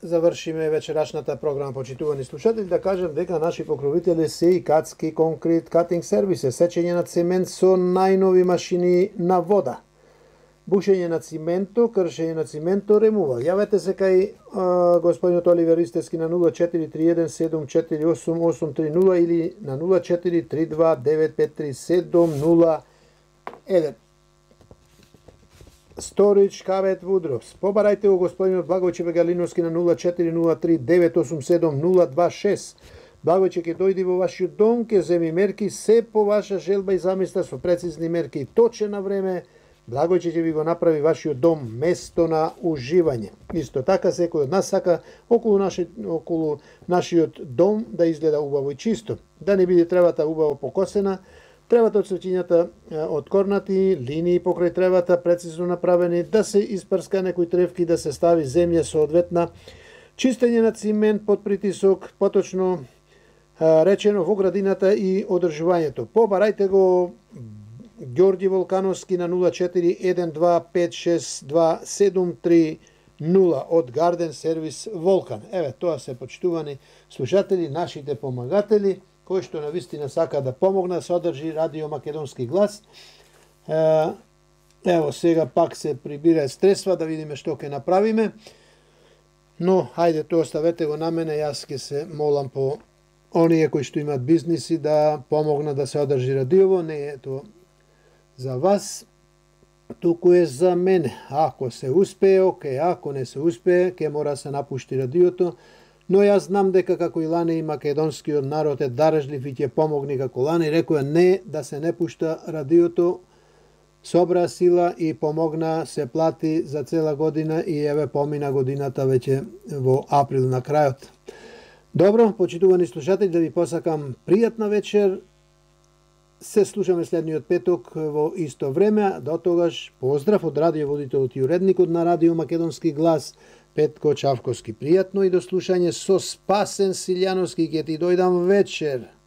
завршиме вечерашната програма, почитувани слушатели, да кажем дека наши покровители се и Кацки Конкрет Катинг Сервисе, сечење на цемент со најнови машини на вода, бушење на цименто, кршење на цименто, ремувал. Јавете се кај господинот Оливер Истески на 0431748830 или на 0432953701. Сторич Кавет Вудровс. Побарајте го господинот Благојче Бегалиновски на 0403987026. Благојче ќе дојди во вашиот дом, ќе земи мерки се по ваша желба и замисла со прецизни мерки и точен на време. Благојче ќе ви го направи вашиот дом место на уживање. Исто така секој од нас сака околу нашиот дом да изгледа убаво и чисто, да не биде тревата убаво покосена, тревата од цвеќињата откорнати, линии покрај тревата прецизно направени, да се испрска некои тревки, да се стави земја соодветна, чистење на цимент под притисок, поточно речено во градината и одржувањето. Побарајте го Ѓорѓи Волкановски на 0412562730 од Гарден Сервис Волкан. Еве, тоа се почитувани слушатели, нашите помагатели, кои што навистина сака да помогна, се одржи Радио Македонски глас. Ево, сега пак се прибира средства, да видиме што ќе направиме. Но, хајде, тоа оставете го на мене, јас ќе се молам по оние кои што имаат бизниси да помогнат да се одржи радиово. Не е тоа за вас, туку е за мене. Ако се успее, окей, ако не се успее, ќе мора се напушти радиото. Но јас знам дека како и лане и македонскиот народ е дарежлив и ќе помогне како лане. Рекоја не да се не пушта радиото, собра сила и помогна, се плати за цела година и еве помина годината веќе во април на крајот. Добро, почитувани слушатели, да ви посакам пријатна вечер. Се слушаме следниот петок во исто време. До тогаш поздрав од радиоводителот и уредникот на Радио Македонски глас Петко Чавковски. Пријатно и до слушање со Спасен Силјановски, ќе ти дојдам вечер.